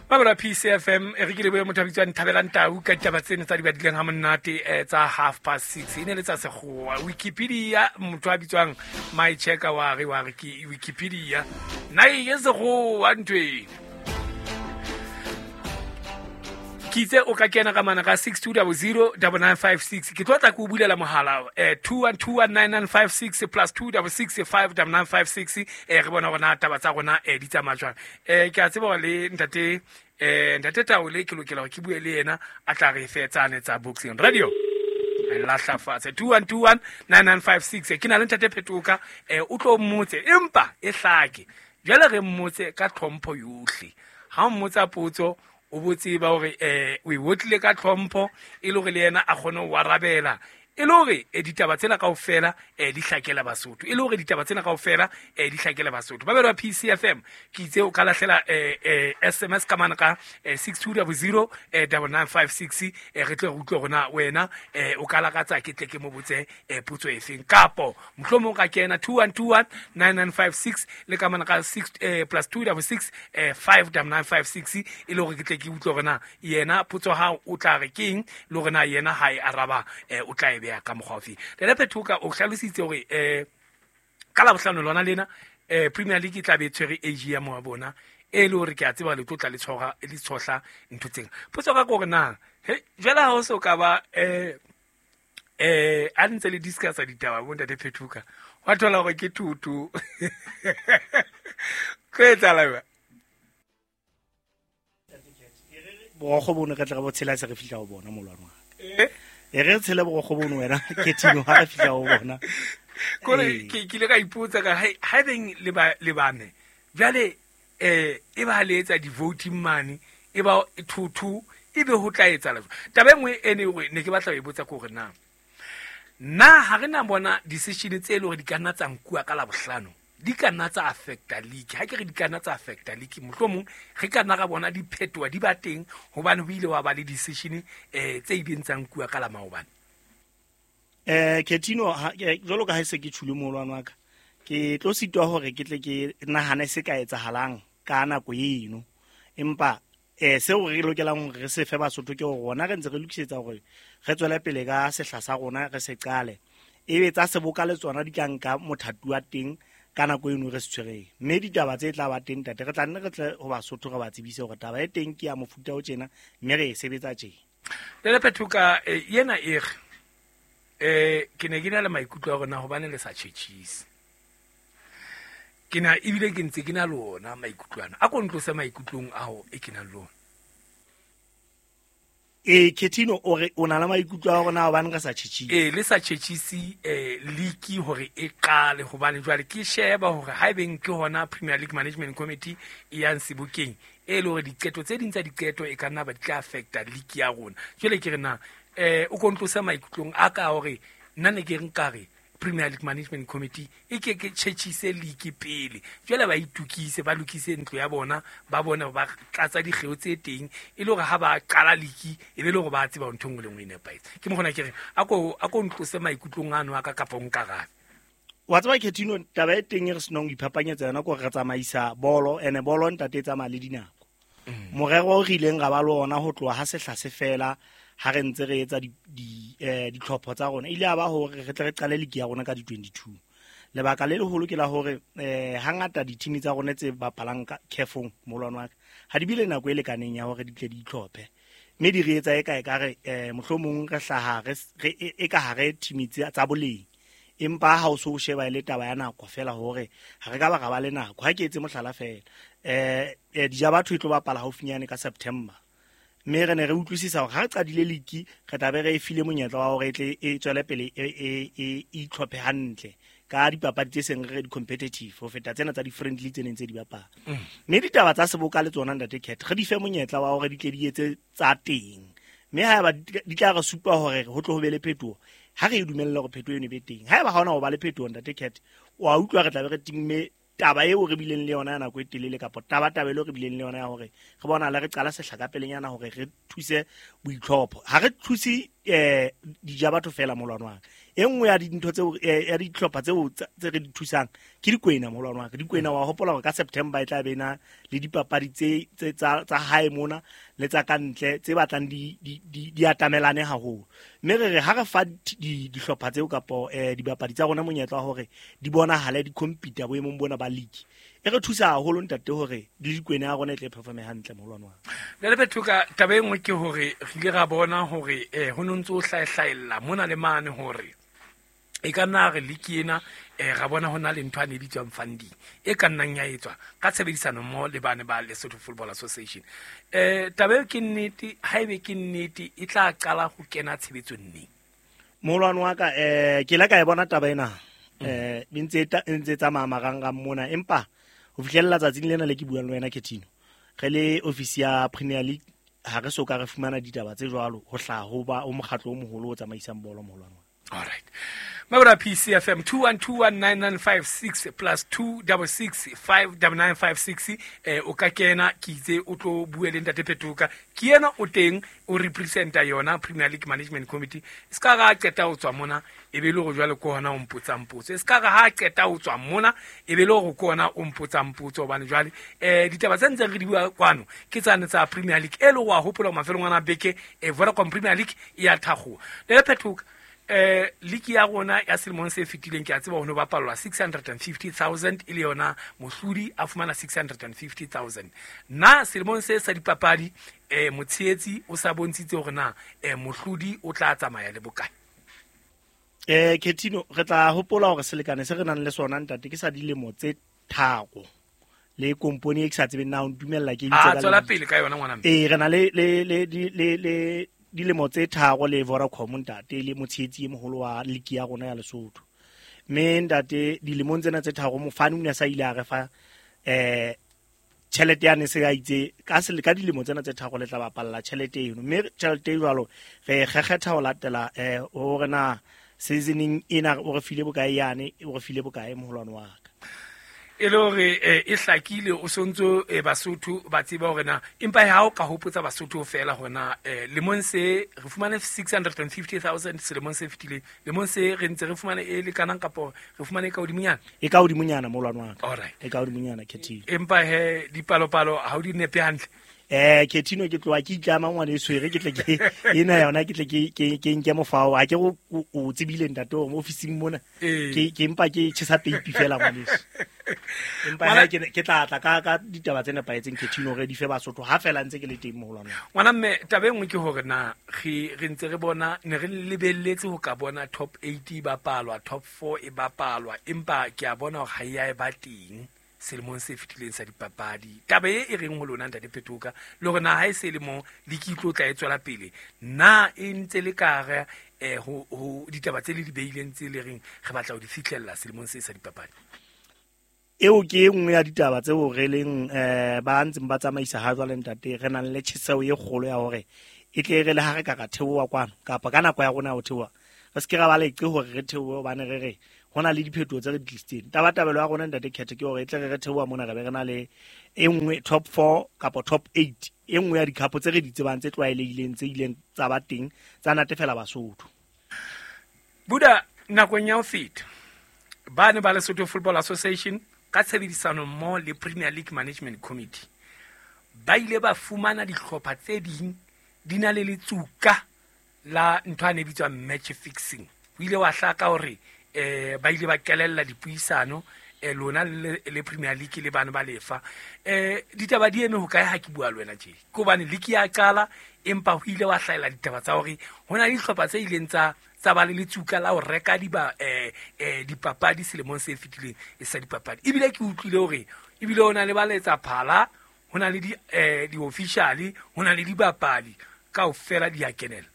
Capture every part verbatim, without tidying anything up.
Ba P C F M e re ke lebohe motho a bitswang Thabelang Tau ka ditaba tseno tsa di badileng ha monate eh, tsa half past six e ne le tsa sekgowa. Wikipedia motho a bitswang My Checker wa re wa re ke Wikipedia nna e ke sekgowa ntho ena. Ke itse o ka kena ka mana ka six two zero zero nine nine five six. Ke tlo tla ke o bulela mohala eh two one two one nine nine five six plus two six six five nine nine five six eh re bona hore na taba tsa rona eh di tsamaya jwang. Eh ke a tseba hore le ntate eh ntate Taole ke lokela hore ke bue le yena a tla re fe tsane tsa Boxing Radio. Lahla fatshe two one two one nine nine five six. Ke na le ntate Phetoka eh o tlo mmotse empa e hlake. Jwale re mmotse ka tlhompho yohle. Ha o mmotsa potso o botse ba hore eh o e wotlile ka tlhompho e le hore le yena a kgone ho arabela e le hore ditaba tsena kaofela eh di hlakela Basotho e le hore ditaba tsena kaofela eh di hlakela Basotho. Ba berwa P C F M ke itse o ka lahlela eh eh S M S ka mana ka six two zero zero nine nine five six eh re tle re utlwe hore na wena eh o ka lakatsa ke tle ke mo botse eh potso efeng kapo mohlomong ka kena two one two one nine nine five six le ka mana ka six eh plus two six six eh five nine nine five six e le hore ke tle ke utlwe hore na yena potso ha o tla re keng le hore na yena ha e araba eh o tla e beha ka mokgwa ofe. Ntate Phetoka o hlalositse hore eh ka Labohlano lona lena eh Premier League e tla be e tshwere A G M wa bona e le hore ke a tseba le tlo tla le tshora le tshohla ntho tsena. Potso ka hore na he jwale ha o so ka ba eh eh a ntse le discuss ditaba bo ntate Phetoka wa thola hore ke tutu ke etsahala ba borokgo bono re tla re bo tshela se re fihla ho bona molwana wa ka. Eh e re tshele borokgo bono wena ke tino ha re fihla ho bona. Kore ke ke ile ka ipotsa ka ha ha beng le ba le bane jwale eh e ba le etsa di voting mane e ba two two e be ho tla etsa la. Taba e nngwe e ne hore ne ke batla ho e botsa ke hore na na ha re na bona decision tse le hore di ka nna tsa nkuwa ka Labohlano di ka nna tsa affecta league. Ha ke re di ka nna tsa affecta league mohlomong re ka nna ra bona diphetoho di ba teng hobane ho ile wa ba le decision eh tse ileng tsa nkuwa ka la maobane. Eh Ketino jwalo ka ha se ke tshule molwana wa ka ke tlo sitwa hore ke tle ke nahane se ka etsahalang ka nako eno empa eh seo re lokelang hore re se fe Basotho ke hore rona re ntse re lokisetsa hore re tswele pele ka sehla sa rona re se qale ebe tsa seboka le tsona di tla nka mothati wa teng ka nako eno re se tshwereng mme ditaba tse tla ba teng ntate re tla nne re tle ho Basotho re ba tsebise hore taba e teng ke ya mofuta o tjena mme re e sebetsa tjena. Ntate Phetoka yena e re eh ke ne ke na le maikutlo a rona hobane le sa tjhetjhise ke na ebile ke ntse ke na le ona maikutlo ana a ko ntlose maikutlong ao e ke nang le ona. E Ketino o re o na le maikutlo a rona hobane re sa tjhetjhise. Eh le sa tjhetjhise eh league hore e qale hobane jwale ke sheba hore ha ebeng ke hona Premier League Management Committee e yang sebokeng e le hore diqeto tse ding tsa diqeto e ka nna ba di tla affecta league ya rona. Jwale ke re na eh o kontlose maikutlong a ka hore nna ne ke re nkare Premier League Management Committee e ke ke tjhetjhise league pele jwale ba itukise ba lokise ntlo ya bona ba bone ba tlatsa dikgeo tse teng e le hore ha ba qala league e be le hore ba tseba ntho nngwe le nngwe e nepahetse. Ke mokgona ke re a ko a ko ntlose maikutlong ano a ka kapa o nkarabe. Wa tseba Ketino taba e teng e re senong iphapanyetsa yona ke hore re tsamaisa bolo ene bolo ntate e tsamaya le dinako. Morero o re ileng ra ba le ona ho tloha ha sehla se fela ha re ntse re etsa di di eh ditlhopho tsa rona ile a ba hore re tle re qale league ya rona ka di twenty-two. Lebaka le leholo ke la hore eh hangata di-team tsa rona tse bapalang ka khefong molwana wa ka ha di bile nako e lekaneng ya hore di tle di itlhophe mme di re etsa e ka e ka re eh mohlomong re hlaha re e ka hare team tsa boleng empa ha o so o sheba ile taba ya nako fela hore ha re ka ba ra ba le nako. Ha ke etse mohlala fela eh dija batho e tlo bapala haufinyane ka September mme re ne re utlwisisa hore ha re qadile league re tla be re e file monyetla wa hore e tle e tswele pele e e itlhophe hantle ka dipapadi tse seng re di competitive ho feta tsena tsa di friendly tse neng tse di bapala. Mme ditaba tsa seboka le tsona ntate Cat re di fe monyetla wa hore di tle di etse tsa teng mme ha eba di tla re supa hore ho tlo ho be le phetoho ha re e dumella hore phetoho eno e be teng. Ha eba ha hona ho ba le phetoho ntate Cat wa utlwa re tla be re timme taba eo re bileng le yona ya nako e telele kapa taba taba eo re bileng le yona ya hore re bona le re qala sehla ka pelenyana hore re thuse boitlhopho. Ha re thuse eh dija batho fela molwana wa E nngwe ya dintho tseo ya dihlopha tseo tse re di thusang ke Dikwena moholwane wa ka. Dikwena wa hopola hore ka September e tla be na le dipapadi tse tse tsa tsa hae mona le tsa ka ntle tse batlang di di di atamelane haholo. Mme re re ha re fa dihlopha tseo kapo dibapadi tsa rona monyetla wa hore di bonahale di compete boemong bona ba league, e re thusa haholo ntate hore le Dikwena ya rona e tle performe hantle moholwane wa ka. Le Phetoka, taba e nngwe ke hore re ile ra bona hore eh ho no ntso hlaehlaella mona le mane hore e ka nna re league ena eh ra bona hona le ntho a ne bitswang funding e ka nnang ya etswa ka tshebedisano mmoho le bane ba Lesotho Football Association. Eh taba eo ke nnete, haebe ke nnete e tla qala ho kena tshebetsong neng? Moholwane wa ka, eh ke ile ka e bona taba ena eh e ntse e ntse tsamaya marangrang mona, empa ho fihlella tsatsing lena le ke buang le wena Ketino, re le office ya Premier League ha re so ka re fumana ditaba tse jwalo ho hlaha ho ba o mokgatlo o moholo o tsamaisang bolo moholwane wa. All right. Mabura P C F M two one two one nine nine five six plus two double six five double nine five six. Eh o ka kena ke itse o tlo bue le ntate Phetoka. Ke yena o teng o representa yona Premier League Management Committee. Se ka ra qeta o tswa mona e be le hore jwale ke hona o mpotsang potso. Se ka ra ha qeta o tswa mona e be le hore ke hona o mpotsang potso hobane jwale eh ditaba tse ntseng re di bua kwano ke tsane tsa Premier League e le wa hopola mafelong ana beke e Vodacom Premier League e a thagoa. Le Phetoka, eh league ya rona ya selemong se fetileng ke a tseba ho no bapallwa six hundred fifty thousand e le yona mohlodi a fumana six hundred fifty thousand. Na selemong se sa dipapadi eh motshehetsi o sa bontshitse hore na eh mohlodi o tla tsamaya le bokae? Eh Ketino, re tla hopola hore selekane se re nang le sona ntate ke sa dilemo tse tharo le kompone e ke sa tsebeng na o ntumella ke itse ka tswela pele ka yona ngwana mme. Eh re na le le le le le dilemo tse tharo le Vodacom ntate le motshehetsi e moholo wa league ya rona ya Lesotho. Mme ntate dilemong tsena tse tharo mofani o ne sa ile a re fa eh tjhelete ya ne se a itse ka se ka dilemo tsena tse tharo le tla bapalla tjhelete eno. Mme tjhelete e jwalo re kgekgetha ho latela eh hore na seasoning ena o re file bokae yane o re file bokae moholwane wa ka. E le hore e hlakile o sontso e Basotho ba tseba hore na empa ha o ka hopotsa Basotho fela hona lemong se re fumane six hundred fifty thousand selemong se fetileng, lemong se re ntse re fumane e lekanang kapo re fumane ka hodimonyana e ka hodimonyana moholwane wa ka. All right, e ka hodimonyana Ketino. Empa he dipalopalo ha o di nepe hantle. Eh Ketino ke tloha ke itlama ngwana e tshwere ke tle ke ena yona ke tle ke ke ke nke mofao ha ke o o tsebile ntate hore ofising mona ke ke empa ke tjhesa peipi fela ngwaneso. Empa ha ke ke tla tla ka ka ditaba tse nepahetseng Ketino re di fe Basotho ha fela ntse ke le teng moholwane. Ngwana mme taba e nngwe ke hore na re re ntse re bona ne re lebelletse ho ka bona top eight e bapalwa, top four e bapalwa, empa ke a bona hore ha e a e ba teng selemong se fetileng sa dipapadi. Taba e e reng ho lona ntate Phetoka le hore na ha e se le mo le ke tlo tla e tswela pele na e ntse le ka re eh ho ho ditaba tse le di beileng tse le reng re batla ho di fihlella selemong se sa dipapadi? Eo ke e nngwe ya ditaba tseo re leng eh ba ntseng ba tsamaisa ha jwale ntate re nang le tjheseho e kgolo ya hore e tle re le ha re ka ka theoha kwano kapa ka nako ya rona ya ho theoha re se ke ra ba leqe hore re theohe hobane re re hona le diphetoho tse re di tlisitseng. Tabatabelo ya rona ntate Khetho ke hore e tle re re theoha mona re be re na le e nngwe top four kapa top eight e nngwe ya dikhapo tse re di tsebang tse tlwaelehileng tse ileng tsa ba teng tsa natefela Basotho. Buda nakong ya ho feta ba ne ba Lesotho Football Association ka tshebedisano mmoho le Premier League Management Committee ba ile ba fumana dihlopha tse ding di na le letsuka la ntho a ne bitswang match fixing. Ho ile wa hlaka hore eh ba ile ba kelella dipuisano eh lona le, le Premier League le bana ba lefa eh ditaba di eme ho kae ha ke bua le wena tje ke hobane league ya qala empa ho ile wa hlahela ditaba tsa hore hona le dihlopha tse ileng tsa tsa ba le letsuka la ho reka diba eh eh dipapadi selemong se fetileng e sa dipapadi. Ebile ke utlwile hore ebile hona le ba letsa phala hona le di eh di officially hona le dibapadi kaofela di a kenela.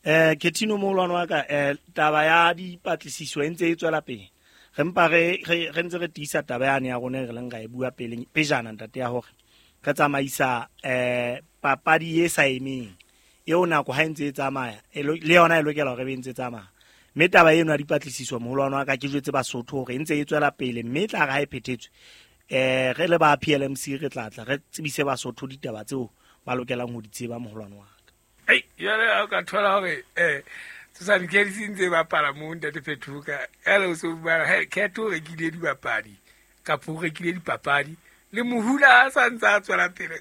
Eh Ketino moholwane wa ka eh taba ya dipatlisiso e ntse e tswela pele. Re mpa re re ntse re tiisa taba yane ya rona re leng ra e bua pele pejana ntate ya hore re tsamaisa eh papadi e sa emeng eo nako ha e ntse e tsamaya le yona e lokela hore e be ntse tsamaya. Mme taba eno ya dipatlisiso moholwane wa ka ke jwetse Basotho hore e ntse e tswela pele mme tla re ha e phethetswe eh re le ba P L M C re tla tla re tsebise Basotho ditaba tseo ba lokelang ho di tseba moholwane wa ka. Ei, jwale ha o ka thola hore eh Tshosane Cats e ntse e bapala mo ntate Phethoka ele o so bua he Cat o rekile dibapadi kapa o rekile dipapadi le mohula a sa ntse a tswela pele.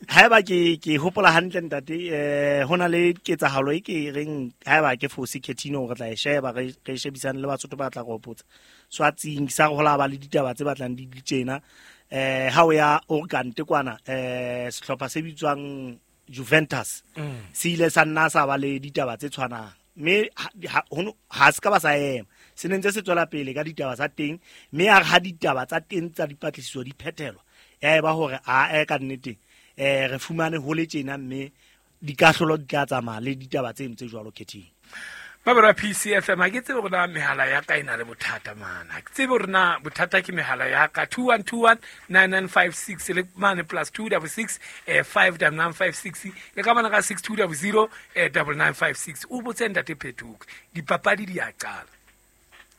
Haeba ke ke hopola hantle ntate, eh hona le ketsahalo e ke reng haeba ke fose Ketino re tla e sheba re re shebisane le Basotho ba tla re hopotsa. Swatsing sa re hola ba le ditaba tse batlang di tjena, eh ha o ya Orkante kwana, eh sehlopha se bitswang Juventus se ile sa nna sa ba le ditaba tse tshwanang, mme ha ha se ka ba sa ema, se ne ntse se tswela pele ka ditaba tsa teng, mme a re ha ditaba tsa teng tsa dipatlisiso di phethelwa ya eba hore a e ka nnete eh re fumane ho le tjena, mme dikahlolo di tla tsamaya le ditaba tse ntse jwalo Khething. Babara P C F M ha ke tsebe hore na mehala ya ka e na le bothata mana. Ha ke tsebe hore na bothata ke mehala ya ka two one two one nine nine five six le mane plus two double six eh five double nine five six le ka mana ka six two double zero eh double nine five six. O botse ntate Phethoka dipapadi di a qala.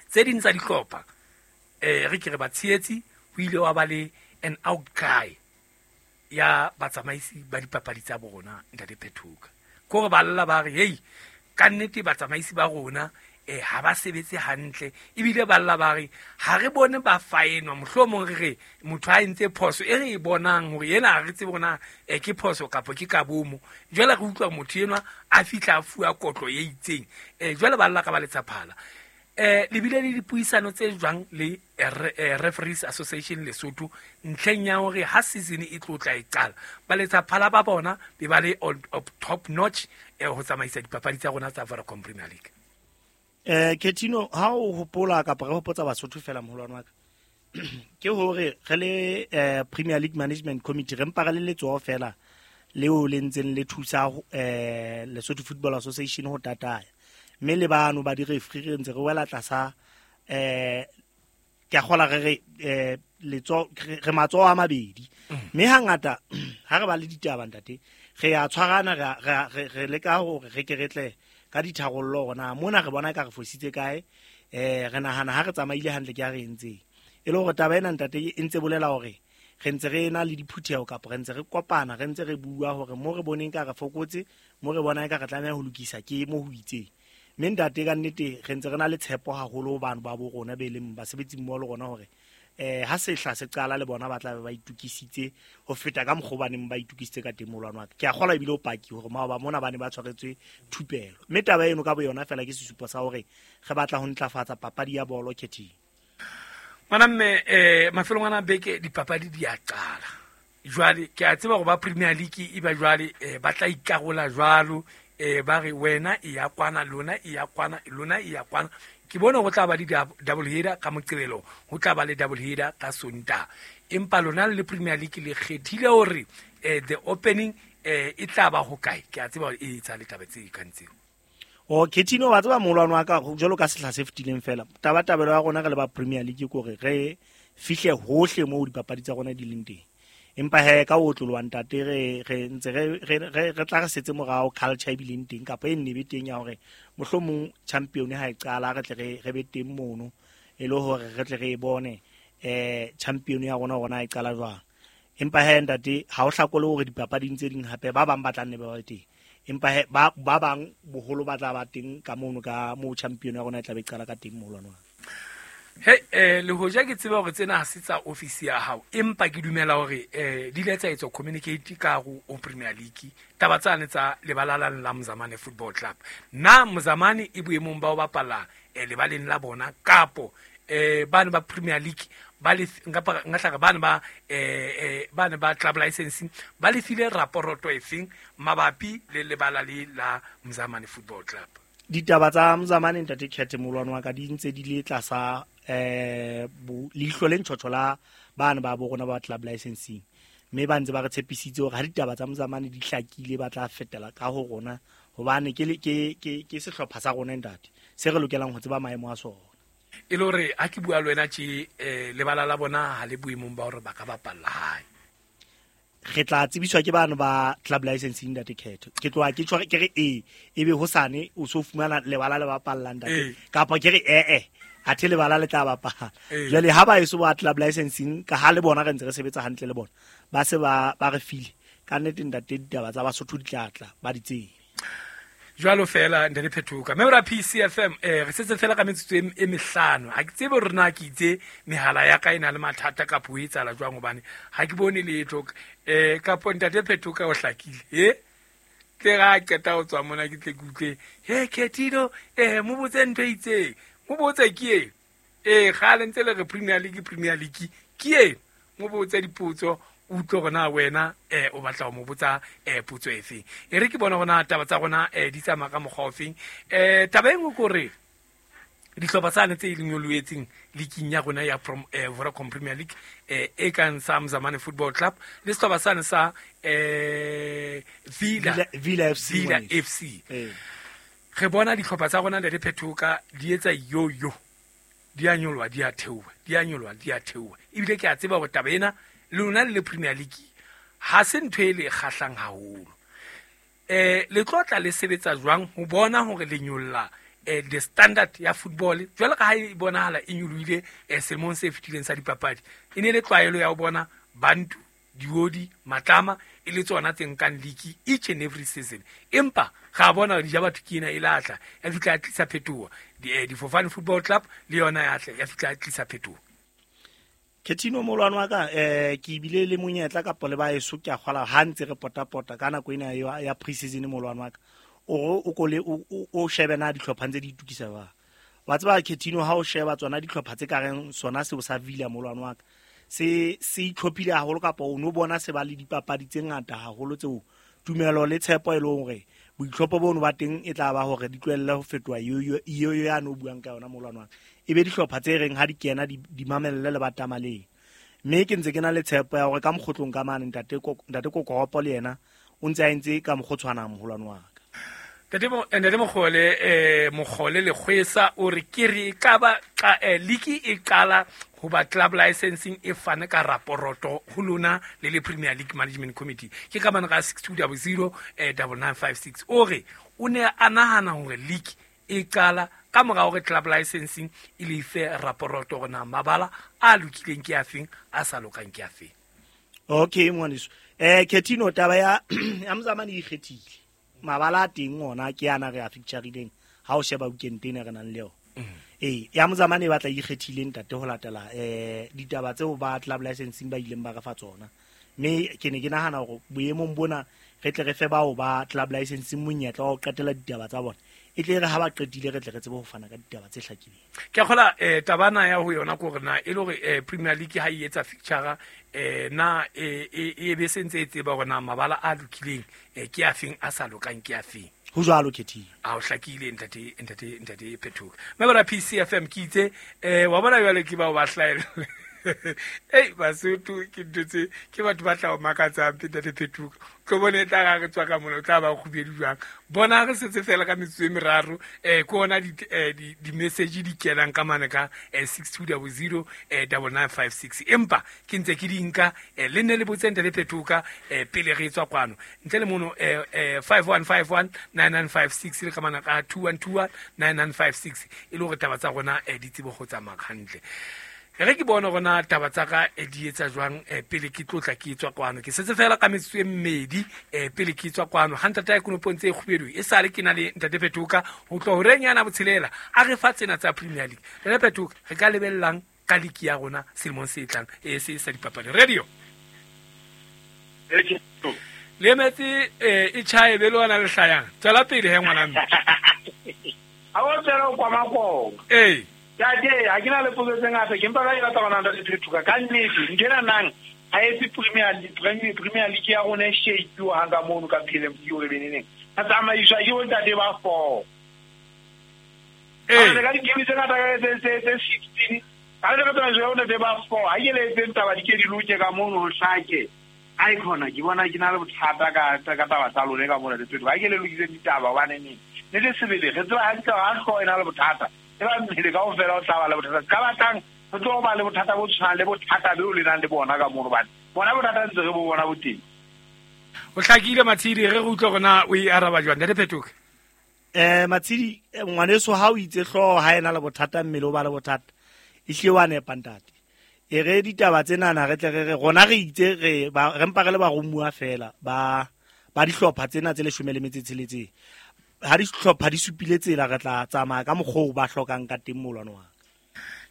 Tse ding tsa dihlopha eh re ke re ba tshehetsi ho ile wa ba le an outcry ya batsamaisi ba dipapadi tsa bona ntate Phethoka. Ko re ba lla ba re hey ka nnete batsamaisi ba rona eh ha ba sebetse hantle, ebile ba lla ba re ha re bone ba faenwa, mohlomong re re motho a entse phoso e re e bonang hore yena ha re tsebe hore na eh ke phoso kapa ke kabomo. Jwale re utlwa motho enwa a fihla a fuwa kotlo e itseng, eh jwale ba lla ka ba letsaphala. Eh le bile le dipuisano tse jwang le Referees Association Lesotho ntlheng ya hore ha season e tlo tla e qala ba letsaphala ba bona be ba le on top notch eh ho tsamaisa dipapadi tsa rona tsa Vodacom Premier League? Eh Ketino ha o hopola kapa re hopotsa Basotho fela moholwane wa ka ke hore re le eh Premier League Management Committee re mpa re le letsoho fela leo le ntseng le thusa eh Lesotho Football Association ho tataya, mme le bano ba di-referee re ntse re wela tlasa eh ke a kgola re re eh letso re matsoho a mabedi, mme hangata ha re ba le ditaba ntate re a tshwarana re re re leka hore re ke re tle ka ditharollo hore na mona re bona ka re fositse kae, eh re nahana ha re tsamaile hantle ke a re entseng. E le hore taba ena ntate e ntse bolela hore re ntse re ena le diphutheho kapa re ntse re kopana re ntse re bua hore mo re boneng ka re fokotse, mo re bonang ka re tlameha ho lokisa ke mo ho itseng. Mme ntate ka nnete re ntse re na le tshepo haholo ho bano ba bo rona be leng basebetsi mmoho le rona hore eh ha sehla se qala le bona ba tla be ba itukisitse ho feta ka mokgwa ba neng ba itukisitse ka teng molwane wa ka. Ke a kgolwa ebile o paki hore maoba mona ba ne ba tshwaretswe thupelo, mme taba eno ka boyona fela ke sesupo sa hore re batla ho ntlafatsa papadi ya bolo Khething. Ngwana mme eh mafelong ana beke dipapadi di a qala jwale, ke a tseba hore ba Premier League e ba jwale eh ba tla ikarola jwalo, eh ba re wena e ya kwana lona e ya kwana lona e ya kwana. Ke bona ho tla ba le double header ka Moqebelo, ho tla ba le double header ka Sontaha, empa lona le Premier League le kgethile hore eh the opening eh e tla ba ho kae? Ke a tseba hore e etsa le taba tse kang tseo. O Ketino wa tseba moholwane wa ka jwalo ka sehla se fetileng fela tabatabelo ya rona re le ba Premier League ke hore re fihle hohle moo dipapadi tsa rona di leng teng, empa he ka o tloloa ntate re re ntse re re re tla re setse morao culture e bileng teng kapa e nne be teng ya hore mohlomong champion ha e qala re tle re re be teng mono e le hore re tle re e bone eh champion ya rona rona e qala jwang. Empa he ntate ha o hlakole hore dipapading tse ding hape ba bang ba tla nne ba ba teng, empa he ba ba bang boholo ba tla ba teng ka mono ka mo champion ya rona e tla be qala ka teng moholwane wa. He eh le hoja ke tseba hore tsena ha se tsa office ya hao, empa ke dumela hore eh di ile tsa etswa communicate ka ho o Premier League taba tsane tsa lebala la la Mzamane Football Club. Na Mzamane e boemong ba ho bapala eh lebaleng la bona kapo eh bana ba Premier League ba le nka nka hlaka bana ba eh eh bana ba club licensing ba le file raporoto efeng mabapi le lebala le la Mzamane Football Club? Ditaba tsa Mzamane ntate Khethe molwane wa ka di ntse di le tlasa eh leihlo le ntjhotjho la bana ba bo rona ba club licensing, mme ba ntse ba re tshepisitse hore ha ditaba tsa Mzamane di hlakile ba tla fetela ka ho rona, hobane ke ke ke ke sehlopha sa rona ntate se re lokelang ho tseba maemo a sona. E le hore ha ke bua le wena tje eh lebala la bona ha le boemong ba hore ba ka bapalla hae, re tla tsebiswa ke bana ba club licensing ntate Khetho. Ke tloha ke tshware ke re e ebe hosane o so fumana lebala le bapallang ntate, kapa ke re eh eh athe lebala le tla bapala. Jwale ha ba eso ba club licensing ka ha le bona re ntse re sebetsa hantle le bona ba se ba ba re file ka nnete ntate ditaba tsa Basotho di tla tla ba di tsebe. Jwalo fela ntate Phetoka. Mme bra P C F M eh re setse fela ka metsotso e mehlano. Ha ke tsebe hore na ke itse mehala ya ka e na le mathata kapa ho etsahala jwang hobane ha ke bone letho eh kapo ntate Phetoka o hlakile. Eh tle ga qeta ho tswa mona ke tle ke utlwe he Ketino eh mo botse ntho e itseng. Mo botse ke e. Eh kgale ntse le re Premier League Premier League ke e. Mo botse dipotso utlwe gona wena eh o batla ho mo botsa eh potso efe. E re ke bona gona taba tsa rona eh di tsamaya ka mokgwa ofeng. Eh taba e nngwe ke hore dihlopha tsane tse leng nyoloetseng leaking ya rona ya eh, Vodacom Premier League eh e kang sa Mzamane Football Club le sehlopha sane sa eh Villa Villa F C Villa F C. Re bona dihlopha tsa rona le Phetoka di etsa yo yo di a nyoloha di a theoha di a nyoloha di a theoha. Ebile ke a tseba hore taba ena lona le Premier League ha se ntho e le kgahlang haholo. Eh le tlotla le sebetsa jwang ho bona hore le nyolla eh the standard ya football jwalo ka ha e bonahala e nyolohile eh selemong se fetileng sa dipapadi. E ne le tlwaelo ya ho bona Bantu, Diodi, Matlama e le tsona tse nkang league each and every season. Empa ga bona di ja batho ke ena e latla ya fihla ya tlisa phetoho. Di Difofane Football Club le yona ya tla ya fihla ya tlisa phetoho. Ketino molwana wa ka eh ke bile le monyetla kapa le ba eso ke a kgola ha ntse re potapota ka nako ena ya ya pre-season molwana wa ka o o kole o shebe na dihlopha tse di itukisa ba wa tseba Ketino ha o sheba tsona dihlopha tse ka reng sona seo sa Villa molwana wa ka se se itlhophile haholo kapa o no bona se ba le dipapadi tse ngata haholo tseo tumelo le tshepo e leng hore boitlhopho bono ba teng e tla ba hore di tlohelle ho fetoha yo yo ya no buang ka yona molwana wa ka e be dihlopha tse reng ha di kena di mamelle le batamaleng. Mme ke ntse ke na le tshepo ya hore ka mokgotlong ka mane ntate ntate Kokoropo le yena o ntse a entse ka mokgotshwana moholwane wa ka. Ntate mo ntate Mogole eh Mogole le kgwesa o re ke re ka ba league e qala ho ba club licensing e fane ka raporoto ho lona le le Premier League Management Committee ke ka bana ka six two zero zero nine nine five six o re o ne a nahana hore league e qala ka mora hore club licensing e le fe raporoto hore na mabala a lokileng ke afeng a sa lokang ke afeng. Okay ngwaneso eh Ketino taba ya ya Mzamane e ikgethile mabala a teng ona ke ana re a fixtureileng ha o sheba weekend ena re nang le yona. Eh ya Mzamane e batla ikgethile ntate ho latela eh ditaba tseo ba club licensing ba ileng ba re fa tsona. Mme ke ne ke nahana hore boemong bona re tle re fe bao ba club licensing monyetla wa ho qetela ditaba tsa bona. E tle re ha ba qetile re tle re tsebe ho fana ka ditaba tse hlakileng. Ke a kgola eh tabana ya ho yona ke hore na e le hore eh Premier League ha e etsa fixture eh na e e be sentse e tseba hore na mabala a lokileng eh ke afeng a sa lokang ke afeng. Ho jwalo Ketino. A o hlakile ntate ntate ntate Phetoka. Mme bara P C F M ke itse eh wa bona jwale ke bao ba hlaela. Ei Basotho ke ntho tse ke batho ba tla o makatsang ntate Phetoka. Tlo bone e tla ga re tswa ka mona o tla ba kgubedu jwang. Bona re setse fela ka metsotso e meraro eh ke ona di di message di kenang ka mane ka six two zero zero nine nine five six empa ke ntse ke di nka le nne le botse ntate Phetoka pele re tswa kwano. Ntle le mono five one five one nine nine five six le ka mana ka two one two one nine nine five six e le hore taba tsa rona di tsebe go tsamaya hantle. Re ke bona rona taba tsa ka di etsa jwang pele ke tlotla ke tswa kwano. Ke setse fela ka metsotso e mmedi pele ke tswa kwano. Ha ntate ya konopong tse kgubedu e sale ke na le ntate Phetoka ho tloha horeng yana botshelela a re fa tsena tsa Premier League. Ntate Phetoka re ka lebellang ka league ya rona selemong se tlang e se sa dipapadi. Radio le metsi e chae be le ona le hlayang. Tswela pele he ngwana mme. Ha o tsela o kwa Makonga. Eh Tate, ha ke na le potso tse ngata ke mpa ka batla bona ntate Phetoka ka nnete ntho ena nang ha etse Premier League Premier Premier League ya rona e shape-iwa hang ka mono ka P L M C o re beneneng a tsamaiswa ke bontate ba four. Eh ka di-game tse ngata ka tse tse tse sixteen ha re ka tsamaiswa ke bontate ba four ha ke le etseng taba di ke di loke ka mono ho hlake. Ai khona ke bona ke na le bothata ka ka taba tsa lone ka mona le Phetoka ha ke le lokiseng ditaba hobane neng ne le sebele re tseba hantle ha hlooho e na le bothata e ba mmele kaofela o tla ba le bothata ka batlang re tlo ba le bothata bo tshwanang le bothata beo le nang le bona ka mono hobane bona bothata ntse re bo bona bo teng. O hlakile Matshidi re re utlwe hore na o e araba jwang ntate Phetoka. Eh Matshidi ngwaneso ha o itse hlooho ha ena le bothata mmele o ba le bothata e hlile wa nepa ntate. E re ditaba tsena re tle re re rona re itse re re mpa re le baromuwa fela ba ba dihlopha tsena tse leshome le metso e tsheletseng. ha dihlopha di supile tsela re tla tsamaya ka mokgwa o ba hlokang ka teng molwane wa ka.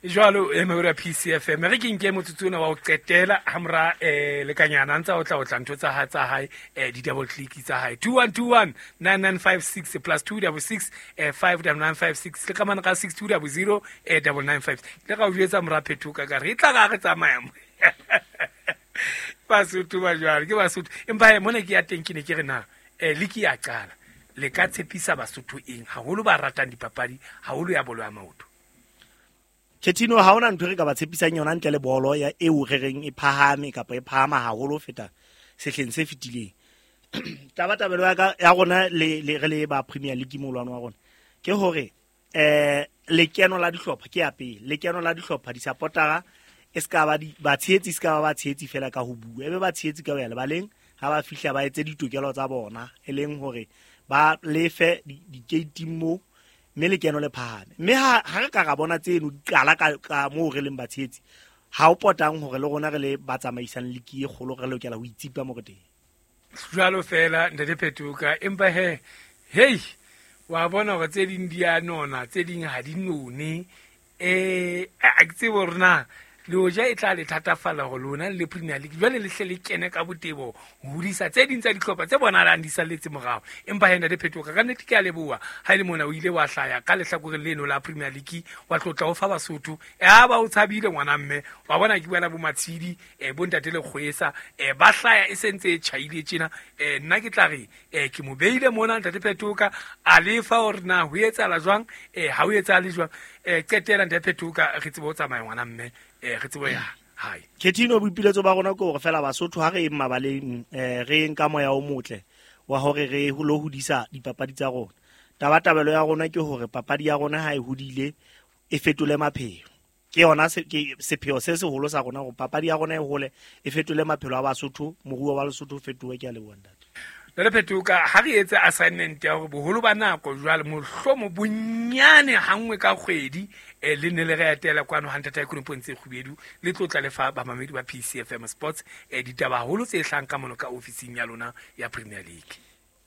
Jwalo e mehoro ya P C F M re ke nke motsotso ona wa ho qetela hamora eh lekanyana ntsa o tla o tla ntho tsa hae tsa hae eh di double click tsa hae two one two one nine nine five six plus two double six eh five nine nine five six le ka mana ka six two double zero eh double nine five le ka o jwetsa mora Phetoka ka re e tla ka re tsamaya mo Basotho ba jwalo ke Basotho empa he mona ke ya teng ke ne ke re na eh liki ya qala le ka tshepisa Basotho eng haholo ba ratang dipapadi haholo ya bolo ya maoto. Ketino ha ona ntho re ka ba tshepisang yona ntle le bolo ya eo re reng e phahame kapa e phahama haholo ho feta sehleng se fetileng. Tabatabelo ya ka ya rona le le re le ba Premier League molwane wa rona ke hore eh lekeno la dihlopha ke ya pele, lekeno la dihlopha di supportera e ska ba di ba tshehetsi ska ba ba tshehetsi fela ka ho bua, ebe ba tshehetsi ka ho ya lebaleng ha ba fihla ba etse ditokelo tsa bona e leng hore ba lefe di-gate mo mme lekeno le phahame. Mme ha ha re ka ra bona tseno di qala ka ka moo re leng batshehetsi ha o potang hore le rona re le ba tsamaisang liki e kgolo re lokela ho itsipa mo re teng. Jwalo fela ntate Phetoka empa he hey wa bona hore tse ding di a nona tse ding ha di none eh a ke tsebe hore na le hoja e tla le thatafalla hore lona le Premier League jwale le hle le kene ka botebo ho hodisa tse ding tsa dihlopha tse bonahalang di salletse morao. Empa he ntate Phetoka ka nnete ke a leboha ha e le mona o ile wa hlaya ka lehlakoreng leno la Premier League wa tlotla ho fa Basotho ya ba o tshabile ngwana mme wa bona ke buela bo Matshidi eh bo ntate Lekgwesa eh ba hlaya e sentse e tjhaile tjena eh nna ke tla re eh ke mo beile mona ntate Phetoka a lefa hore na ho etsahala jwang eh ha ho etsahale jwang eh qetela ntate Phetoka re tsebe ho tsamaya ngwana mme eh re tsebo ya hae. Ketino boipiletso ba rona ke hore fela Basotho ha re eng mabaleng eh re eng ka moya o motle wa hore re lo hodisa dipapadi tsa rona. Tabatabelo ya rona ke hore papadi ya rona ha e hodile e fetole maphelo. Ke yona se ke sepheo se seholo sa rona hore papadi ya rona e hole e fetole maphelo a Basotho, moruo wa Lesotho o fetohe. Ke a leboha ntate. Ntate Phetoka ha re etse assignment ya hore boholo ba nako jwale mohlomo bonyane hangwe ka kgwedi eh le ne le re etela kwano ha ntate Ikonopong tse kgubedu le tlotla le fa bamamedi ba P C F M Sports eh ditaba haholo tse hlang ka mono ka ofising ya lona ya Premier League.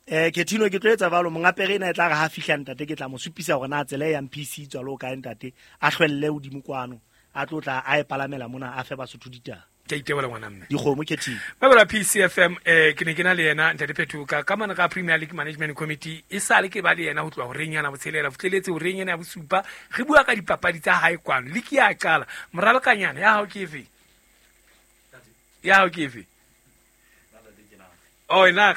Eh Ketino ke tlo etsa jwalo mongapere ena e tla re ha fihla ntate ke tla mo supisa hore na tsela e yang P C tswa lo kae ntate a hlwelle hodimo kwano a tlotla a e palamela mona a fe Basotho ditaba. Ke itebola ngwana mme dikgomo Ketino ba bala P C F M eh ke ne ke na le yena ntate Phetoka ka mane ka Premier League Management Committee e sale ke ba le yena ho tloha horeng yana botshelela botleletse horeng yana ya bosupa re bua ka dipapadi tsa hae kwano le ke ya qala moralokanyana ya hao ke efe ya hao ke efe oh ena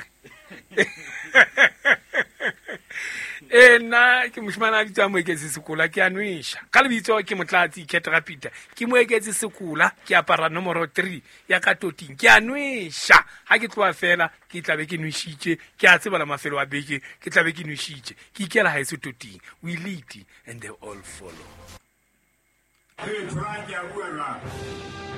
e nna ke moshimane a bitswang Moeketsi Sekola ke a nwesha ka lebitso ke Motlatsi Ketra Peter ke Moeketsi Sekola ke apara nomoro three ya ka toting ke a nwesha ha ke tloha fela ke tla be ke nweshitse ke a tseba la mafelo a beke ke tla be ke nweshitse ke ikela haeso toting. We lead and they all follow. Hey, Frank, ya bua jwang?